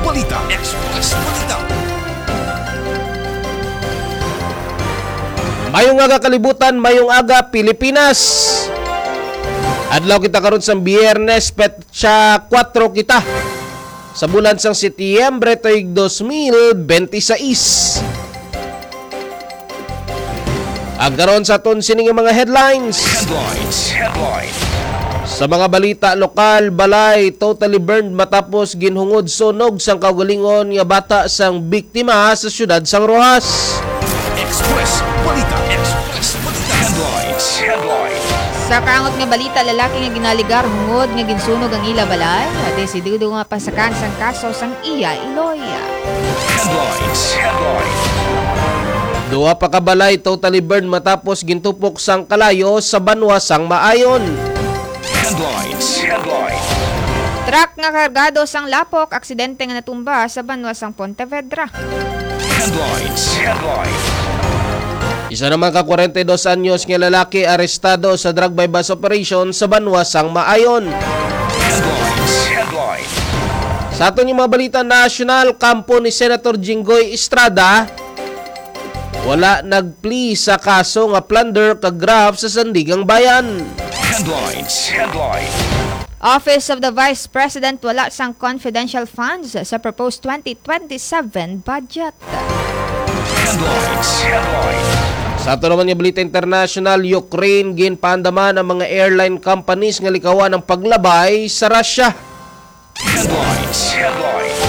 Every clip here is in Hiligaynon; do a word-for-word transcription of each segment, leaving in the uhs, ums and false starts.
Balita. Express Balita. Mayong aga kalibutan, mayong aga Pilipinas. Adlaw kita karon sa Biyernes, petsa kuwatro kita sa bulan sang Setyembre tuig dos mil benti sais. Ang karon sa aton sini nga mga headlines. Headlines. Headlines. Sa mga balita lokal, balay totally burned matapos ginhungod sunog sang kaugalingon nga bata sang biktima sa siyudad sang Roxas. Express Balita. Express Balita. Headlines. Headlines. Sa kaangot nga balita, lalaki nga ginaligar hungod nga ginsunog ang ila balay, desidido nga pasakan sang kaso sang iya iloy. Headlines. Headlines. Duha pa ka balay totally burned matapos gintupok sang kalayo sa banwa sang Maayon. Headlines. Headlines. Truck nga kargado sang lapok, aksidente nga natumba sa banwa sang Pontevedra. Headlines. Headlines. Isa naman ka kwarenta y dos anyos nga lalaki arestado sa drug buy-bust operation sa banwa sang Maayon. Headlines. Headlines. Sa aton nga mga balita nasyonal, kampo ni Senator Jinggoy Estrada, wala nagpli sa kaso nga plunder kag graft sa Sandiganbayan. Headlines. Headlines. Office of the Vice President wala sang confidential funds sa proposed twenty twenty-seven budget. Headlines. Headlines. Sa ato naman nga balita international, Ukraine, ginpaandaman ang mga airline companies nga likawan ang paglabay sa Russia. Headlines. Headlines.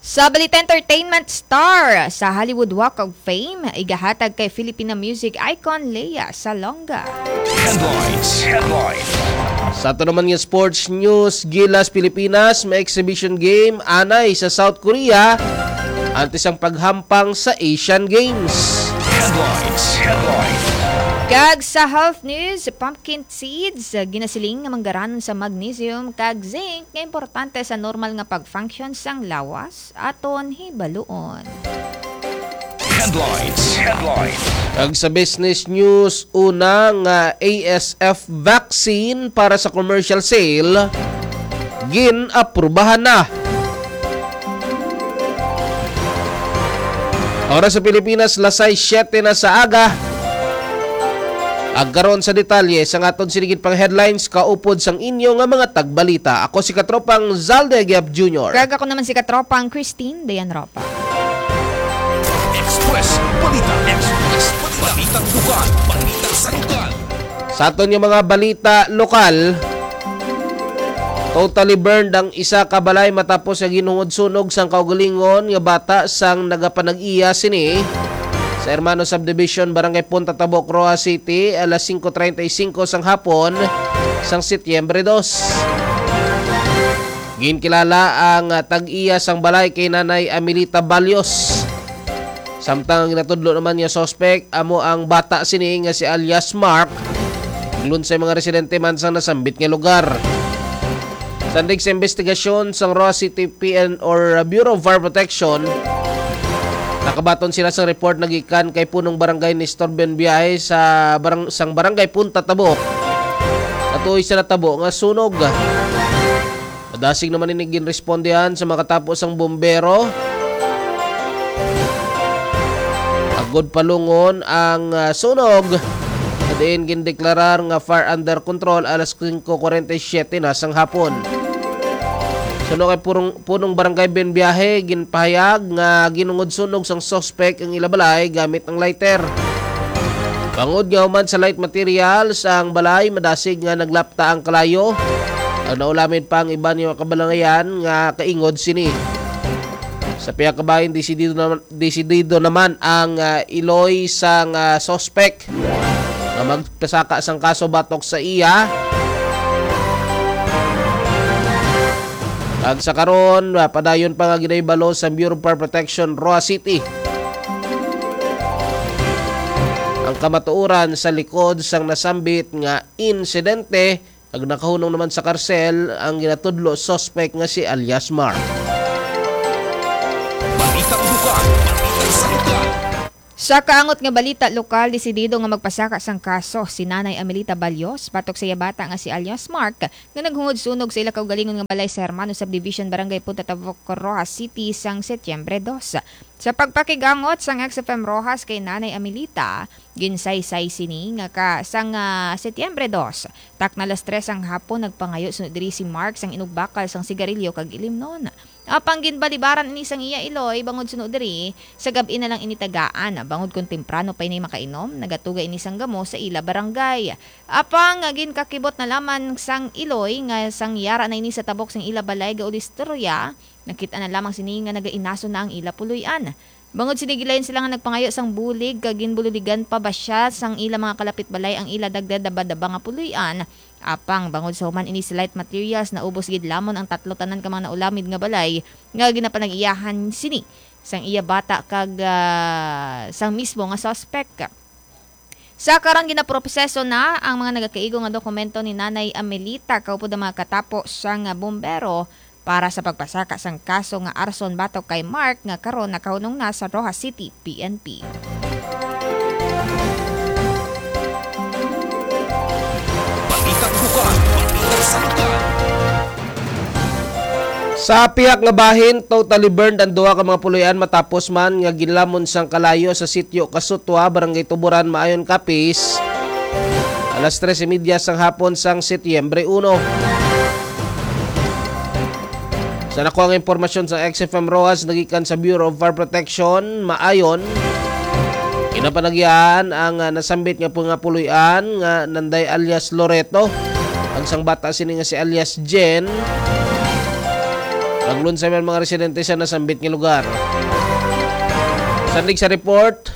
Sa balita entertainment, star sa Hollywood Walk of Fame igahatag kay Filipina music icon Lea Salonga. Headlines. Headlines. Sa ato naman nga sports news, Gilas, Pilipinas, may exhibition game anay sa South Korea antes ang paghampang sa Asian Games. Headlines. Headlines. Kag sa health news, pumpkin seeds, ginasiling nga manggaranon sa magnesium kag zinc nga importante sa normal nga pag-function sang lawas. Aton hibaluon. Headlines. Headlines. Kag sa business news, una nga A S F vaccine para sa commercial sale, gin-aprubahan na. Oras sa Pilipinas, lasay siyete na sa aga. Ag karon sa detalye sang aton sinigit pang headlines, kaupod sang inyo nga mga tagbalita. Ako si Katropang Zalde Agiab Junior. Kag ako naman si Katropang Christine Dayan Ropa. Express Balita. Express Balita. Balitang lokal. Balita sa lokal. Sa aton nga mga balita lokal, totally burned ang isa ka balay matapos nga ginhungod sunog sang kaugalingon nga bata sang nagapanag-iya sini sa Hermano Subdivision, Barangay Punta Tabok, Roxas City, alas singko treinta y cinco sang hapon sang Setyembre dos. Ginkilala ang, ah, tag-iya sang balay kay Nanay Amelita Balios. Samtang ang ginatudlo naman nga suspect amo ang bata sini nga si alias Mark. Lunsay mga residente man sang nasambit nga lugar. Sandig sa investigasyon sang Roxas City P N or Bureau of Fire Protection, nakabaton sila sang report nagikan kay punong barangay Nestor Benbiahe sa barang-, sang barangay Punta Tabok. Katuoy sa natabo nga sunog. Madasig naman ini ginrespondihan sa makatapo sang bombero. Agod palungon ang, ah, sunog, diin gindeklarar nga fire under control alas singko kwarenta y siyete na sang hapon. Suno kay purong, punong barangay Benbiahe, ginpahayag nga ginungod sunog sang suspek ang ila balay gamit ang lighter. Bangod nga human sa light materials ang balay, madasig nga naglapta ang kalayo. Ang naulamid pa ang iban nga kabalangayan nga kaingod sini. Sa pihak kabahin, desidido naman, desidido naman ang, ah, iloy sang, ah, suspek nga magpasaka sang kaso batok sa iya. Kag sa karon, ah, padayon pa nga ginahibalo sa Bureau of Fire Protection, Roxas City, ang kamatuoran sa likod sang nasambit nga insidente, kag nakahunong naman sa karsel ang ginatudlo suspek nga si alias Mark. Balitang lokal, balita sa lokal. Sa kaangot nga balita lokal, desidido nga magpasaka sang kaso si Nanay Amelita Balios batok sa iya bata nga si alias Mark, nga naghungod sunog sa ila kaugalingon nga balay sa Hermano Subdivision, Barangay Punta Tabok, Roxas City, sang Setyembre dos. Sa pagpakigangot sang X F M Roxas kay Nanay Amelita, ginsaysay sini nga ka sang, ah, Setyembre dos, takna alas tres sang hapon, nagpangayo suno diri si Mark sang inugbakal sang sigarilyo kag ilimnon. Apang ginbalibaran ini sang iya iloy, bangod suno diri, sa gab-i na lang ini tagaan, bangod kon temprano pa ini makainom, nagatuga ini sang gamo sa ila barangay. Apang ginkakibot na lamang sang iloy nga sang yara na ini sa tabok sang ila balay, gaulistorya, nakit-an na lamang sini nga nagainaso na ang ila puloy-an. Bangod sini, gilayon sila nga nagpangayo sang bulig, kag ginbululigan pa ba siya sang ila mga kalapit balay ang ila dagdadabadaba nga puloy-an. Apang bangod sa human ini sa light materials, naubos gid lamon ang tatlo tanan ka mga naulamid nga balay nga ginapanag-iyahan sini sang iya bata kag, ah, sang mismo nga suspek. Sa karang ginaproseso na ang mga nagakaigo nga dokumento ni Nanay Amelita, kaupod ang mga katapo sang, ah, bumbero para sa pagpasaka sang kaso nga arson batok kay Mark, nga karon nakahunong na sa Roxas City P N P. Balitang lokal, balitang sa lokal. Sa pihak nga bahin, totally burned ang duha ka mga puloy-an matapos man nga ginlamon sang kalayo sa sitio Kasutwa, Barangay Tuburan, Maayon, Capiz, alas tres y media sang hapon sang Setyembre uno. Sa nakuha nga impormasyon sa X F M Roxas nagikan sa Bureau of Fire Protection, Maayon, ginapanagyahan ang, ah, nasambit nga pu-, nga puloy-an nga nanday alias Loreto, kag sang bata sini nga si alias Jen. Naglunsay man mga residente sa nasambit nga lugar. Sandig sa report,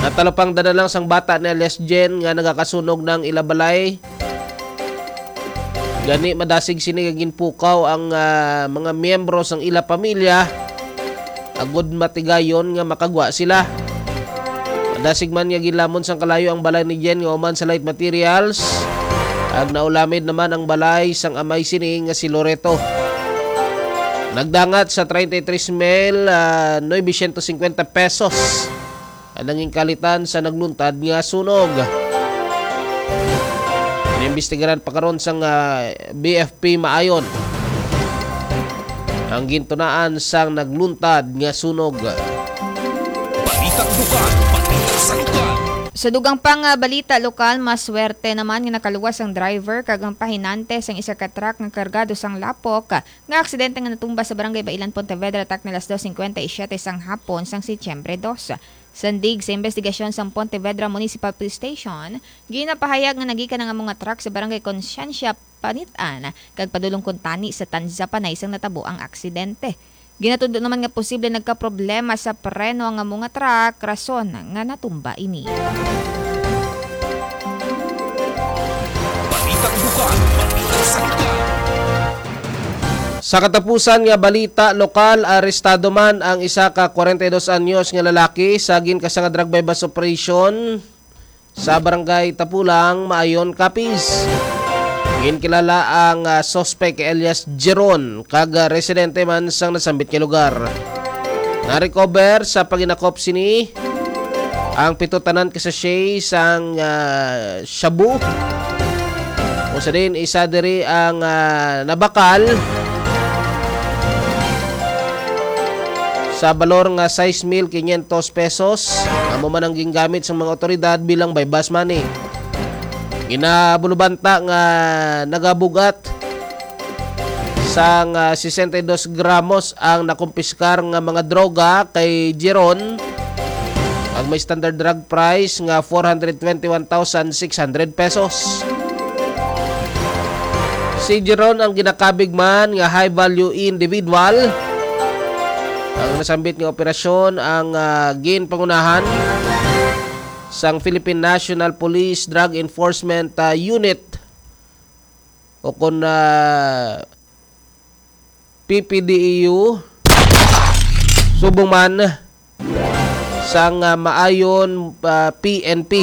natalupangdan na lang sang bata ni alias Jen nga nagakasunog na ang ila balay. Gani, madasig sini nga ginpukaw ang, ah, mga miyembro sang ila pamilya, agod matigayon nga makagwa sila. Madasig man nga ginlamon sang kalayo ang balay ni Jen nga human sa light materials, kag naulamid naman ang balay sang amay sini nga si Loreto. Nagdangat sa treinta y tres mil, ah, novecientos cincuenta pesos ang nangin kalitan sa nagluntad nga sunog. Inimbestigaran pa karon sang, ah, B F P Maayon ang gintunaan sang nagluntad nga sunog. Balitang lokal, balita sa lokal. Sa dugang pang, ah, balita lokal, maswerte naman nga nakaluwas ang driver kag ang pahinante sang isa ka truck nga kargado sang lapok nga aksidente nga natumba sa Barangay Bailan, Pontevedra, takna alas dos cincuenta y siete sang hapon sang Setyembre dos. Sandig sa imbestigasyon sang Pontevedra Municipal Police Station, ginapahayag nga nagikan ang amo nga truck sa Barangay Conciencia, Panit-an, kag padulong kuntani sa Tanza Panay sang natabo ang aksidente. Ginatudlo naman nga posible nagkaproblema sa preno ang amo nga truck, rason nga natumba ini. Balitang lokal, balitang sa lokal. Sa katapusan nga balita lokal, arestado man ang isa ka kwarenta y dos anyos nga lalaki sa ginkasa nga drug buy-bust operation sa Barangay Tapulang, Maayon, Capiz. Ginkilala ang, ah, suspect kay alias Jeron, kag, ah, residente man sang nasambit nga lugar. Na-recover sa paginakop sini ang pito tanan ka sachet sang, ah, shabu. Usa din, isa diri ang, ah, nabakal sa balor nga sais mil quinientos pesos. Amo man ang gingamit sang mga otoridad bilang buy-bust money. Ginabulubanta nga nagabugat sang, ah, sesenta y dos gramos ang nakumpiskar nga mga droga kay Jeron, ang may standard drug price nga four hundred twenty-one thousand six hundred pesos. Si Jeron ang ginakabig man nga high-value individual. Ang nasambit nga operasyon ang, ah, ginpangunahan sang Philippine National Police Drug Enforcement, ah, Unit, o kon, ah, P P D E U, subong man sang, ah, Maayon, ah, P N P.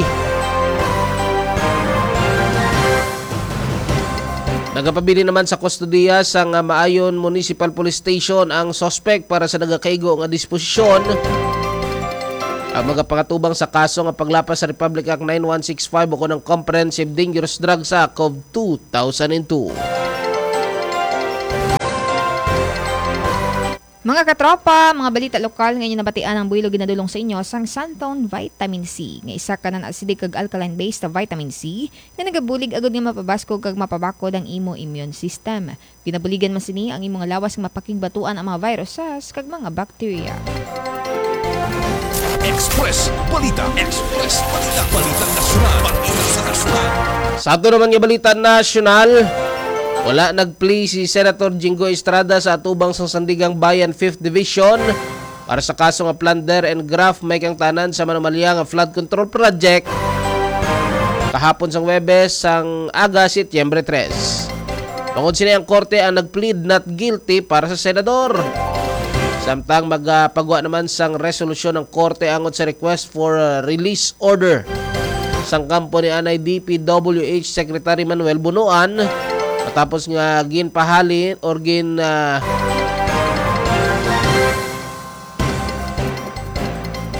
Nagapabilin naman sa kustodiya sang, ah, Maayon Municipal Police Station ang suspect para sa nagakaigo nga disposisyon. ang magapangatubang sa kaso nga paglapas sa Republic Act nine one six five ukon ang Comprehensive Dangerous Drugs Act of two thousand and two. Mga katropa, mga balita lokal nga inyo nabatian ang buhilog ginadulong sa inyo sang Santon Vitamin C, nga isa ka non-acidic kag alkaline-based vitamin C nga nagabulig agud nga mapabaskog kag mapabakod ang imo immune system. Ginabuligan man sini ang imo nga lawas nga mapakigbatuan ang mga viruses kag mga bakterya. Express Balita. Express Balita. Balita nasyonal. Balita sa nasyonal. Sa ato naman nga balita nasyonal, wala nag-plea si Senator Jinggoy Estrada sa atubang sang Sandiganbayan Fifth Division para sa kaso nga plunder and graft may kangtanan sa Manumalia nga flood control project kahapon sang Huwebes sang aga, Setyembre tres. Bangod sini, ang korte ang nag-plead not guilty para sa senador. Samtang magapagwa naman sang resolusyon ang korte angot sa request for, uh, release order sang kampo ni anay D P W H Secretary Manuel Bonoan, matapos nga ginpahali or gin, ah,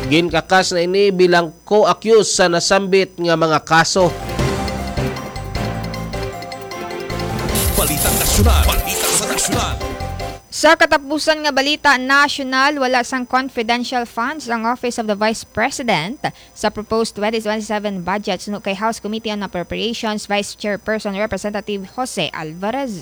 ginkakas na ini bilang co-accused sa nasambit nga mga kaso. Balitang nasyonal. Balita sa nasyonal. Sa katapusan nga balita nasyonal, wala sang confidential funds ang Office of the Vice President sa proposed twenty twenty-seven budget suno kay House Committee on Appropriations Vice Chairperson Representative Jose Alvarez.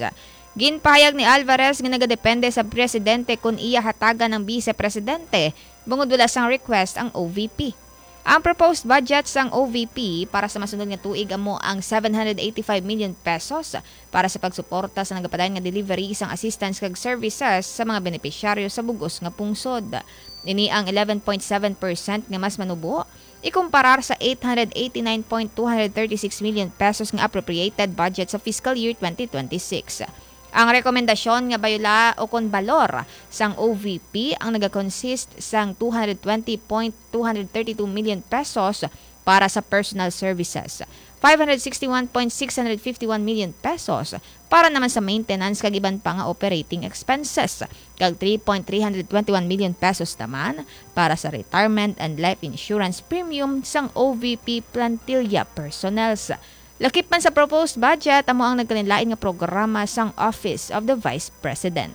Ginpahayag ni Alvarez nga nagadepende sa presidente kon iya hatagan ang bise presidente bangod wala sang request ang O V P. Ang proposed budget sang O V P para sa masunod nga tuig amo ang seven hundred eighty-five million pesos para sa pagsuporta sa nagapadayon nga delivery sang assistance kag services sa mga benepisyaryo sa bug-os nga pungsod. Ini ang eleven point seven percent nga mas manubo ikumparar sa eight hundred eighty-nine point two hundred thirty-six million pesos nga appropriated budget sa fiscal year twenty twenty-six. Ang rekomendasyon nga bayula o kon balor sang O V P ang nagakonsist sang two hundred twenty point two hundred thirty-two million pesos para sa personal services, five hundred sixty-one point six hundred fifty-one million pesos para naman sa maintenance kag iban pa nga operating expenses, kag three point three hundred twenty-one million pesos naman para sa retirement and life insurance premium sang O V P plantilla personnels. Lakip man sa proposed budget, amo ang nagkalainlain nga programa sang Office of the Vice President.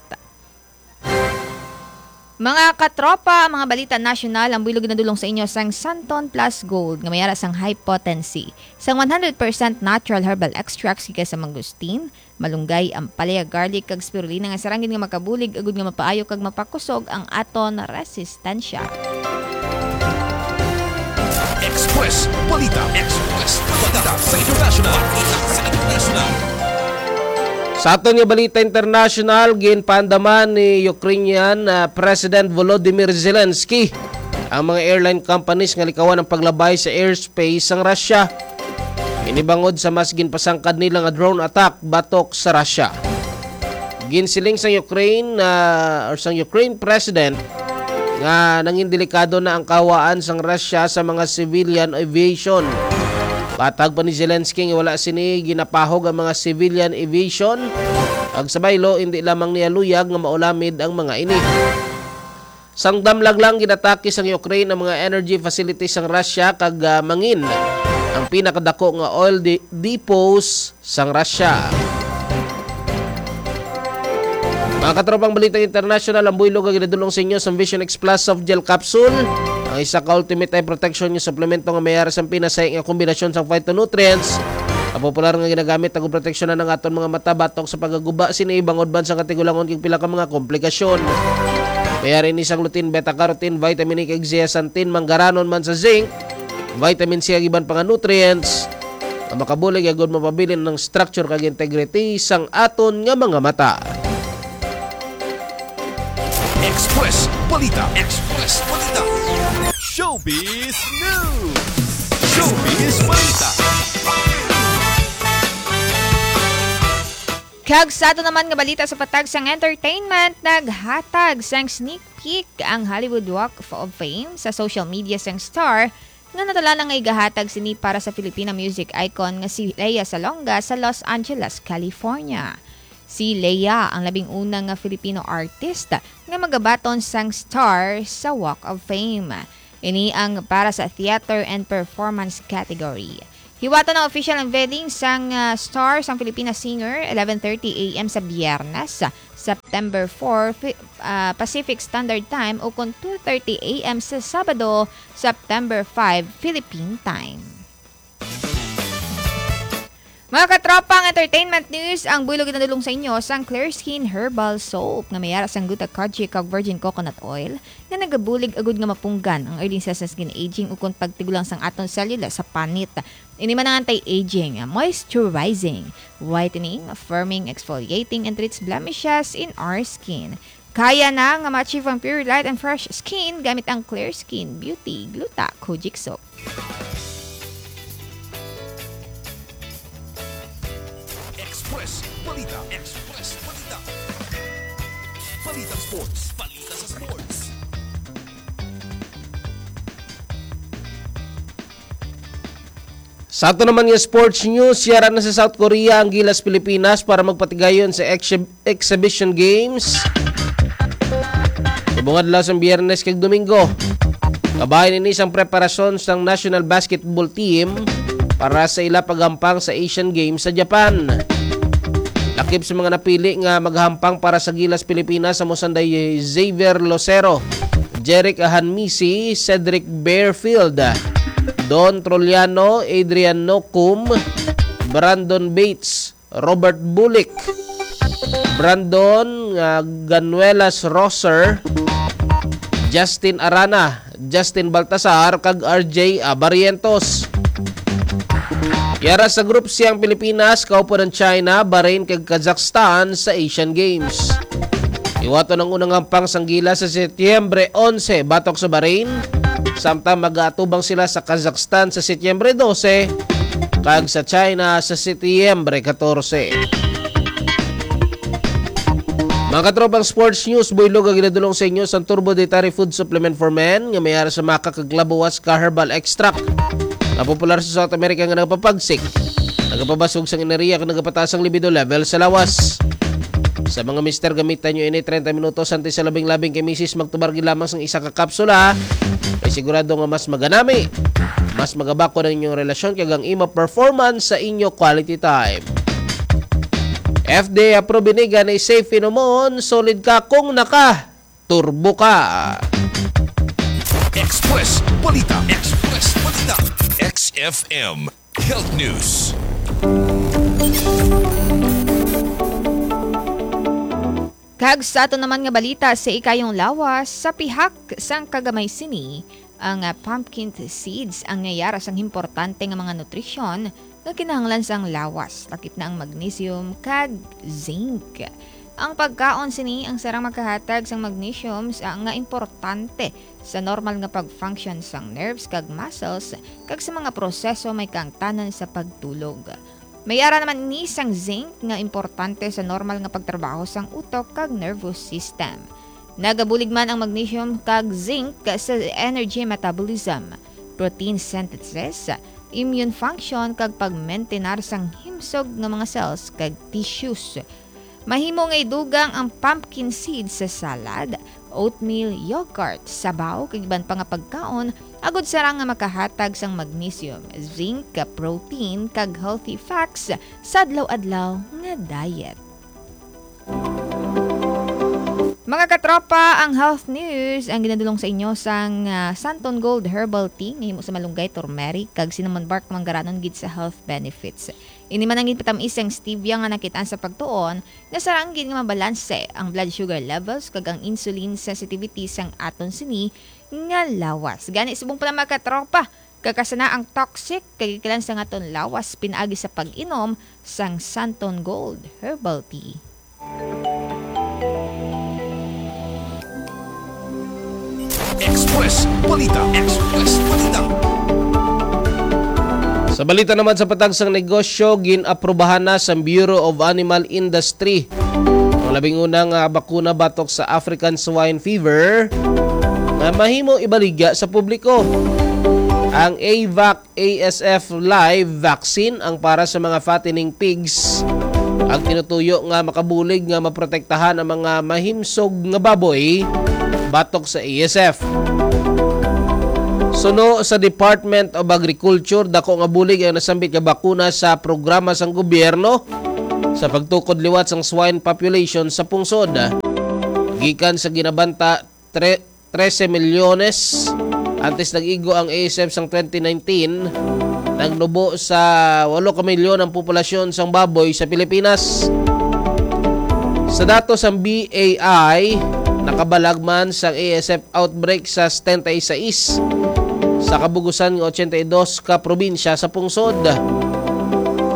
Mga katropa, mga balita nasyonal ang buhilog ginadulong sa inyo sang Santon Plus Gold nga may ara sang high potency sang one hundred percent natural herbal extracts gikan sa mangosteen, malunggay, ampalaya, garlic, kag spirulina nga sarang gid nga makabulig agud nga mapaayo kag mapakusog ang aton resistensya. Express Balita. Express Balita sa international. Balita sa international. Sa aton nga balita international, ginpaandaman ni Ukrainian, ah, President Volodymyr Zelensky ang mga airline companies nga likawan ang paglabay sa airspace sang Russia. Ini bangod sa mas ginpasangkad nila nga drone attack batok sa Russia. Ginsiling sang Ukraine, ah, or sang Ukraine President nga nangin delikado na ang kahawaan sang Russia sa mga civilian aviation. Patag pa ni Zelensky nga wala sini ginapahog ang mga civilian aviation, ag sa baylo, hindi lamang niya luyag nga maulamid ang mga ini. Sang damlag lang, ginatake sang Ukraine ang mga energy facilities sang Russia kag, ah, mangin ang pinakadako nga oil de-, depots sang Russia. Mga katropang balitang international, ang buhilog nga ginadulong sa inyo sang Vision X Plus Soft Gel Capsule, ang isa ka ultimate eye protection nga suplemento nga may ara sang pinasahi nga kombinasyon sang phytonutrients nga popular nga ginagamit agud proteksyonan ang aton mga mata batok sa pagaguba sini bangod man sa katigulangon kag pila ka mga komplikasyon. May ara ini sang lutein, beta-carotene, vitamin E kag zeaxanthin, manggaranon man sa zinc, vitamin C kag iban pa nga nutrients nga makabulig agud mapabilin ang structure kag integrity sang aton nga mga mata. Express Balita. Express Balita. Showbiz News. Showbiz Balita. Kag sa ato naman nga balita sa patag sang entertainment, naghatag sang sneak peek ang Hollywood Walk of Fame sa social media sang star nga natala na nga igahatag sini para sa Filipina music icon nga si Lea Salonga sa Los Angeles, California. Si Lea ang labing una nga Filipino artist nga magabaton sang star sa Walk of Fame. Ini ang para sa theater and performance category. Hiwaton ang official unveiling sang, ah, star sang Filipina singer, eleven thirty a m sa Biyernes, September four, Fi-, ah, Pacific Standard Time, ukon two thirty a m sa Sabado, September five, Philippine Time. Mga katropa, ang entertainment news, ang buylog ginadulong sa inyo sang Clear Skin Herbal Soap nga may ara sang gluta kojic kag virgin coconut oil nga nagabulig agud nga mapunggan ang early sa skin aging ukon pagtigulang sang aton selula sa panit. Ini man ang anti-aging, moisturizing, whitening, firming, exfoliating, and treats blemishes in our skin. Kaya na nga ma-achieve ang pure light and fresh skin gamit ang Clear Skin Beauty Gluta Kojic Soap. Express Balita. Express Balita. Balita Sports. Balita sa Sports. Sa ato naman nga sports news, yara na sa South Korea ang Gilas Pilipinas para magpatigayon sa exhi- Exhibition Games. Subong adlaw sang Biyernes kag Domingo. Kabahin ini sang preparasyon sang national basketball team para sa ila paghampang sa Asian Games sa Japan. Lakip sa mga napili nga maghampang para sa Gilas Pilipinas, amo sanday Xavier Lucero, Jeric Ahanmisi, Cedric Barefield, Don Troliano, Adrian Nocum, Brandon Bates, Robert Bulik, Brandon nga Ganuelas Roser, Justin Arana, Justin Baltasar, kag R J Barrientos. Yara sa Group C ang Pilipinas, kaupo ng China, Bahrain, kag Kazakhstan sa Asian Games. Iwaton ang unang hampang sang Gilas sa Setyembre onse batok sa Bahrain, samtang mag-aatubang sila sa Kazakhstan sa Setyembre dose kag sa China sa Setyembre katorse. Mga katropang sports news, buylog ang ginadulong sa inyo sang Turbo Dietary Food Supplement for Men nga may ara sa maca kag labuas ka herbal extract nga popular sa South America nga nagapapagsik, nagapabasog sang enerhiya kag nagapataas ang libido level sa lawas. Sa mga mister, gamitan nyo ini treinta minutos antes sa labing-labing kay misis, magtumar gid lamang sang isa ka kapsula. Kay sigurado nga mas maganami, mas magabakod ang inyong relasyon kag ang imo performance sa inyo quality time. F D A approve ini, gani safe inomon, solid ka kung naka turbo ka. Express Balita. Express Balita. X F M Health News. Kag sa aton naman nga balita, sa ikayong lawas, sa pihak sang kagamay sini, ang, ah, pumpkin seeds ang nayara sang importante nga mga nutrisyon nga kinahanglan sang lawas, lakip na ang magnesium kag zinc. Ang pagkaon sini ang sarang makahatag sang magnesium sa, nga importante sa normal nga pag-function sang nerves kag muscles kag sa mga proseso may kaangtanan sa pagtulog. May ara naman ni sang zinc nga importante sa normal nga pagtrabaho sang utok kag nervous system. Nagabulig man ang magnesium kag zinc sa energy metabolism, protein synthesis, immune function kag pagmentenar sang himsog nga mga cells kag tissues. Mahimo nga idugang ang pumpkin seeds sa salad, oatmeal, yogurt, sabaw kag iban pa nga pagkaon agud sarang nga makahatag sang magnesium, zinc, protein kag healthy fats sa adlaw-adlaw nga diet. Mga katropa, ang health news ang ginadulong sa inyo sang, ah, Santon Gold Herbal Tea nga himo sa malunggay, turmeric kag cinnamon bark, manggaranon gid sa health benefits. Ini man ang ginpatamis sang stevia nga nakit-an sa pagtuon nga sarang gid nga mabalanse ang blood sugar levels kag ang insulin sensitivity sang aton sini nga lawas. Gani, subong pa lang, mga katropa, kakasana ang toxic kag ikilan sang aton lawas pinaagi sa pag-inom sang Santon Gold Herbal Tea. Express Balita. Express Balita. Sa balita naman sa patag sang negosyo, gin-aprubahan na sa Bureau of Animal Industry ang labing una nga bakuna batok sa African Swine Fever nga mahimo ibaligya sa publiko. Ang AVAC A S F Live Vaccine ang para sa mga fattening pigs. Ang tinutuyo nga makabulig nga maprotektahan ang mga mahimsog nga baboy batok sa A S F. Suno sa Department of Agriculture, dako nga bulig ang nasambit nga bakuna sa programa sang gobyerno sa pagtukod liwat sang swine population sa pungsod. Gikan sa ginabanta, tre-, trese milyones antes nag-igo ang A S F sang twenty nineteen, nagnubo sa walo ka milyon ang populasyon sang baboy sa Pilipinas. Sa datos sang B A I, nakabalag man sang A S F outbreak sa setenta y seis sa kabugusan nga ochenta y dos ka probinsya sa pungsod.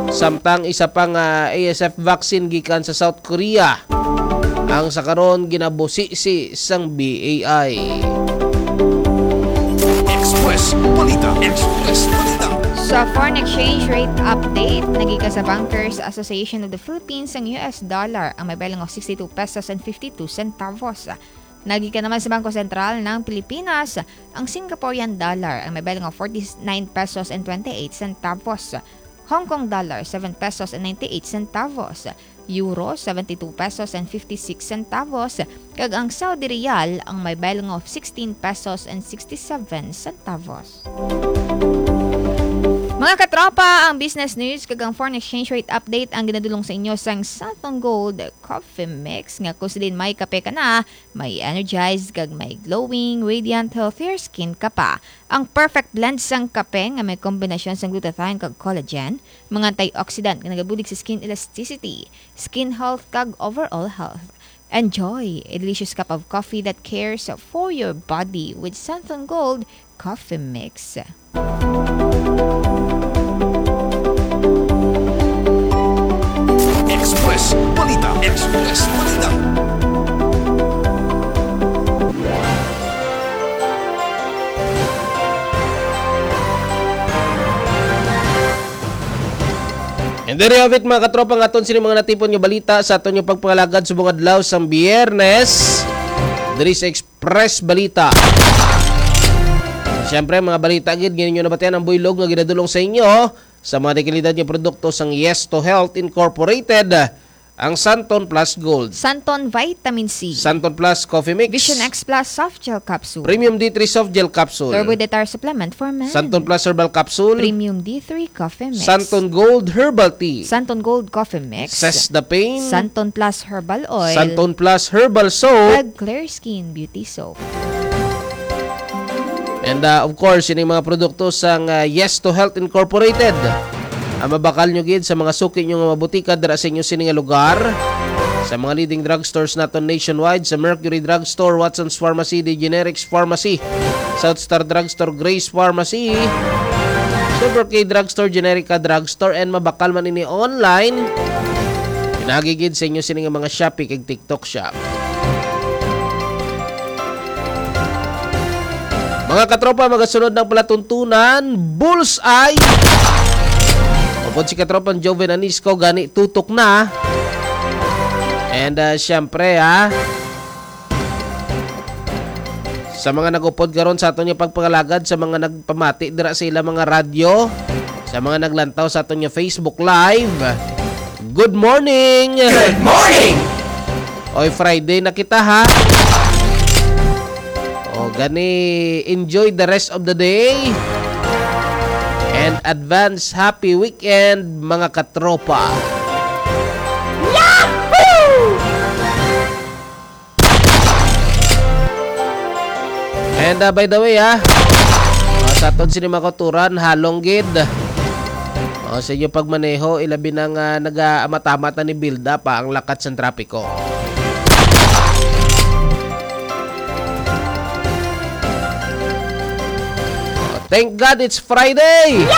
Samtang isa pa nga A S F vaccine gikan sa South Korea ang sa karon ginabusisi sang B A I. Express Balita. Express Balita. Sa foreign exchange rate update, nagika sa Bankers Association of the Philippines ang U S dollar ang may balang of sixty-two pesos and fifty-two centavos. Nagika naman sa Bangko Sentral ng Pilipinas ang Singaporean dollar ang may balang of forty-nine pesos and twenty-eight centavos, Hong Kong dollar, seven pesos and ninety-eight centavos, Euro, seventy-two pesos and fifty-six centavos, kag ang Saudi Riyal ang may balang of sixteen pesos and sixty-seven centavos. Mga katropa, ang business news kag ang foreign exchange rate update ang ginadulong sa inyo sang Santon Gold Coffee Mix, nga kung sa din may kape ka na, may energized kag may glowing, radiant, healthier skin ka pa. Ang perfect blend sang kape nga may kombinasyon sang glutathione kag collagen, mga antioxidant nga nagabulig sa skin elasticity, skin health kag overall health. Enjoy a delicious cup of coffee that cares for your body with Santon Gold Coffee Mix. Express Balita. Express Balita. And there you have it, mga katropa, nga aton sini mga natipon nga balita sa aton nga pagpangalagad subong adlaw sang Biyernes diri sa Express Balita. Siyempre, mga balita gid, ngayon nyo nabatian ang buylog nga ginadulong sa inyo sa mga dekalidad nga produkto sang Yes to Health Incorporated, ang Santon Plus Gold, Santon Vitamin C, Santon Plus Coffee Mix, Vision X Plus Soft Gel Capsule, Premium D three Soft Gel Capsule, Turbo Detar Supplement for Men, Santon Plus Herbal Capsule, Premium D three Coffee Mix, Santon Gold Herbal Tea, Santon Gold Coffee Mix, Cess the Pain, Santon Plus Herbal Oil, Santon Plus Herbal Soap, kag Clear Skin Beauty Soap. And, uh, of course, ining mga produkto sang, uh, Yes to Health Incorporated, ang mabakal nyo gid sa mga suki nyo nga mabutika dira sa inyo sini nga lugar, sa mga leading drugstores naton nationwide, sa Mercury Drugstore, Watson's Pharmacy, The Generics Pharmacy, South Star Drugstore, Grace Pharmacy, Super K Drugstore, Generica Drugstore, and mabakal man ini online. Pinagi gid sa inyo sini nga mga Shopee kag TikTok Shop. Mga katropa, magasunod ng palatuntunan, Bullseye. Upod si katropang Joven Anisco, gani tutok na. And, uh, siyempre, ha, sa mga nag-upod karon sa aton nga pagpangalagad, sa mga nagpamati dira sa ila mga radyo, sa mga naglantaw sa aton nga Facebook Live, good morning! Good morning! Oy, Friday na kita, ha? O, gani, enjoy the rest of the day. And advance happy weekend, mga katropa. Yahoo! And, uh, by the way, ha, uh, sa aton sini mga kauturan, halong gid. O, sa inyo pagmaneho, ilabi na nga nag-amat-amat na ni build up, ha, ang lakat sa trapiko. Thank God it's Friday!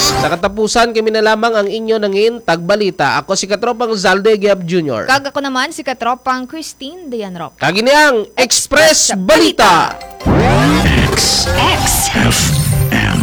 Sa katapusan, kami na lamang ang inyo nangin tagbalita. Ako si Katropang Zalde Giab Junior. Kag ako naman si Katropang Christine Dayan Rock. Kag ini ang Express Balita. X. X. F M.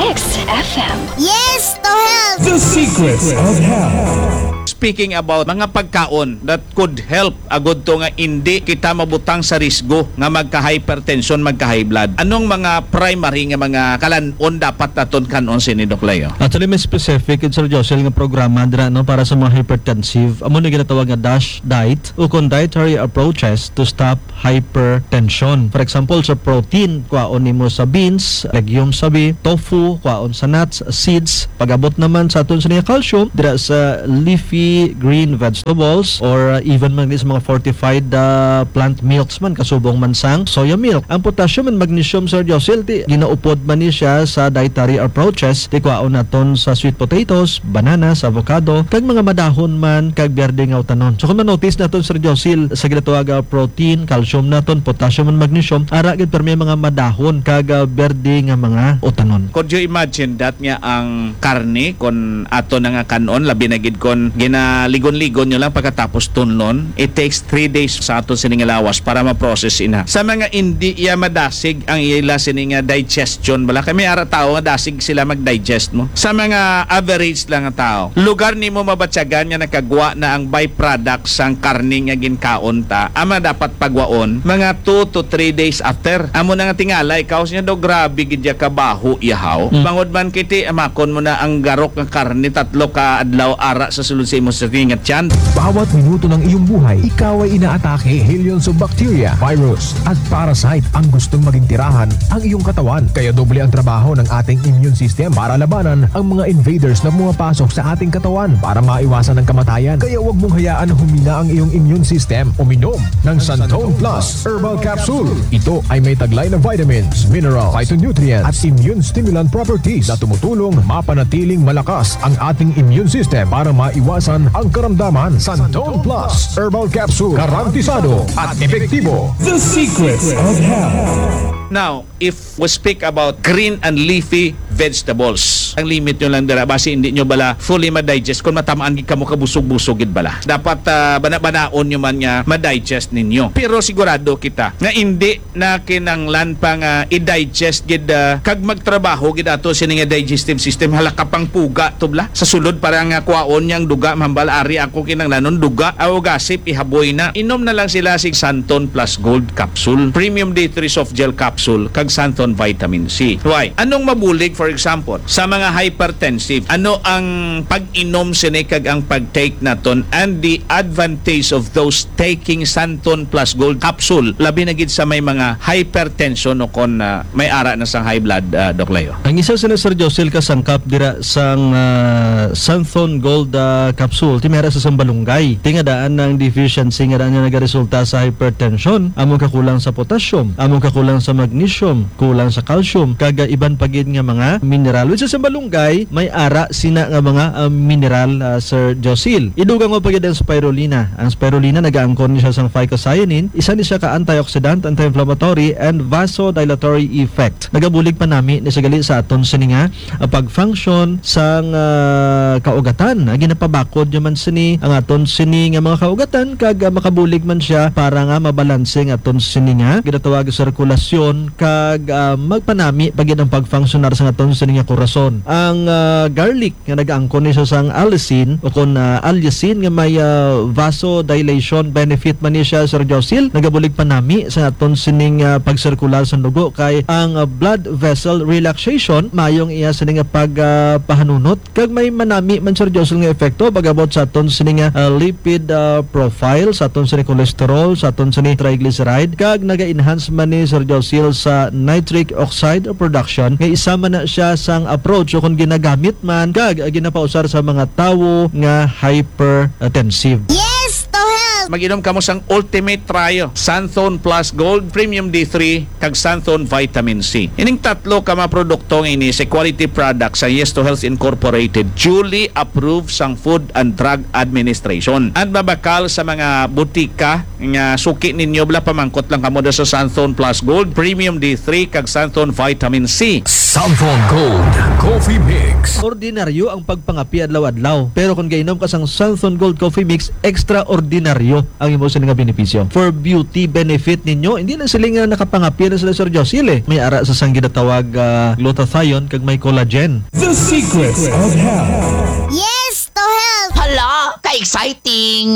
X F M. Yes to health! The Secrets of Health. Speaking about mga pagkaon that could help agud to nga indi kita mabutang sa risgo nga magka-hypertension, magka-high blood, anong mga primary nga mga kalan-on dapat naton kan-on sini, Doc Leo? Actually, may specific, Sir Josel, nga programa dira, no, para sa mga hypertensive. Amo na ginatawag nga DASH diet, o kon dietary approaches to stop hypertension. For example, sa protein, kwaon nimo sa beans, legumes sabi, tofu, kwaon sa nuts, seeds. Pag-abot naman sa aton sa nga calcium, dira sa leafy green vegetables or, uh, even man sa mga fortified, uh, plant milks man, kasubong man sang soya milk. Ang potassium and magnesium, Sir Josel, ti ginaupod man ni siya sa dietary approaches, ti kwaon naton sa sweet potatoes, bananas, avocado, kag mga madahon man kag berde nga utanon. So kung ma-notice naton, Sir Josil, sa ginatawag nga protein, calcium naton, potassium, and magnesium, ara gid permi mga madahon kag, ah, berde nga mga utanon. Could you imagine that nga ang karne, kon ato na nga kan-on, labi na gid kon ginaligon-ligon nyo lang pagkatapos tunlon, it takes three days sa aton sini nga lawas para ma-process ina. Sa mga indi iya madasig ang ila sini nga digestion, bala kay may ara tawo nga dasig sila mag-digest mo. Sa mga average lang nga tawo, lugar nimo mabatyagan nga nakagwa na ang byproduct sang karne nga ginkaon ta, ama dapat pagwaon mga two to three days after. Amo na nga tingala ikaw siya daw, "Grabe gid ya kabaho, yahaw." Mm. Bangod man kiti, amakon mo na ang garok nga karne tatlo ka adlaw ara sa sulod sa imo sa tinga tiyan. Bawat minuto ng iyong buhay, ikaw ay inaatake, billions of bacteria, virus, at parasite ang gustong maging tirahan ang iyong katawan. Kaya doble ang trabaho ng ating immune system para labanan ang mga invaders na pumapasok sa ating katawan para maiwasan ang kamatayan. Kaya huwag mong hayaan na humina ang iyong immune system. Uminom ng Santon Plus Herbal Capsule. Ito ay may taglay na vitamins, mineral, phytonutrients, at immune stimulant properties na tumutulong mapanatiling malakas ang ating immune system para maiwasan ang karamdaman. Santon Plus Herbal Capsule, garantisado at epektibo. The Secrets of Health. Now, if we speak about green and leafy vegetables, ang limit nyo lang dira, basi hindi nyo bala fully ma-digest kung matamaan gid kamo kabusog-busog gid bala. Dapat, ah, bana-banaon nyo man nga ma-digest ninyo. Pero sigurado kita nga hindi na kinanglan pa nga i-digest gid, ah, kag magtrabaho gid ato sini nga digestive system. Hala ka pang puga tubla sa sulod para nga kwaon niyang duga, mambal ari ako kinanglanon duga, aw gasip ihaboy na. Inom na lang sila sig Santon Plus Gold Capsule, Premium D three Soft Gel Capsule, kag Santon Vitamin C. Why? Anong mabulig, for example, sa mga hypertensive? Ano ang pag-inom sini kag ang pag-take naton and the advantage of those taking Santon Plus Gold Capsule, labi na gid sa may mga hypertension o kon, ah, may ara na sang high blood, ah, Doc Leo? Ang isa sini, Sir Josil, ka sangkap dira sang, ah, Santhon Gold, ah, Capsule, ti may ara sa sambalunggay. Ti nga daan ang deficiency nga daan nga nagaresulta sa hypertension, among kakulang sa potassium, among kakulang sa magnesium, kulang sa calcium, kag, ah, iban pa gid nga mga mineral. Which is, ang sambalunggay, may ara sina nga mga, ah, mineral, ah, Sir Josil. Idugang mo pa gid ang spirulina. Ang spirulina nagaangkon ni siya sang phycocyanin, isa ni siya ka antioxidant, anti-inflammatory, and vasodilatory effect. Nagabulig pa nami ni siya gali sa aton sini nga, ah, pag-function sang, ah, kaugatan. Ang ginapabakod naman sini ang aton sini nga mga kaugatan, kag, ah, makabulig man siya para nga mabalanse ang aton sini nga ginatawag sirkulasyon, kag, ah, magpanami pa gid ang pag-functionar sa aton sini nga korason. Ang, ah, garlic nga nagaangkon ni siya sang allicin o kon, ah, allicin nga may, ah, vasodilation benefit man ni siya, Sir Josil, nagabulig pa nami sa aton sining, ah, pagsirkular sa dugo, kay ang, ah, blood vessel relaxation mayo ang iya sini nga pag, ah, pahanunot, kag may manami man, Sir Josil, nga epekto pag-abot sa aton sini nga, ah, lipid, ah, profile, sa aton sini cholesterol, sa aton sini triglyceride, kag naga-enhance man ni, Sir Josil, sa nitric oxide production, nga isa man na siya sang approach o kung ginagamit man kag ginapausar sa mga tawo nga hypertensive. Yes to health! Mag-inom kamo sang Ultimate Trio, Santhon Plus Gold, Premium D three, kag Santhon Vitamin C. Ining tatlo ka mga produkto nga ini sa quality products sa Yes to Health Incorporated, duly approved sang Food and Drug Administration. And mabakal sa mga butika nga suki ninyo, bala pamangkot lang kamo da sa Santhon Plus Gold, Premium D three, kag Santhon Vitamin C. Santhon Gold Coffee Mix. Ordinaryo ang pagpangapi adlaw-adlaw, pero kung gainom ka sang Santhon Gold Coffee Mix, extraordinaryo ang imo sini nga benepisyo. For beauty benefit ninyo, hindi lang sila nga nakapangapi na sila, Sir Josil, eh. May ara sa sang ginatawag, ah, glutathione kag may collagen. The Secrets of Health. Yes to health! Hala, Ay, exciting!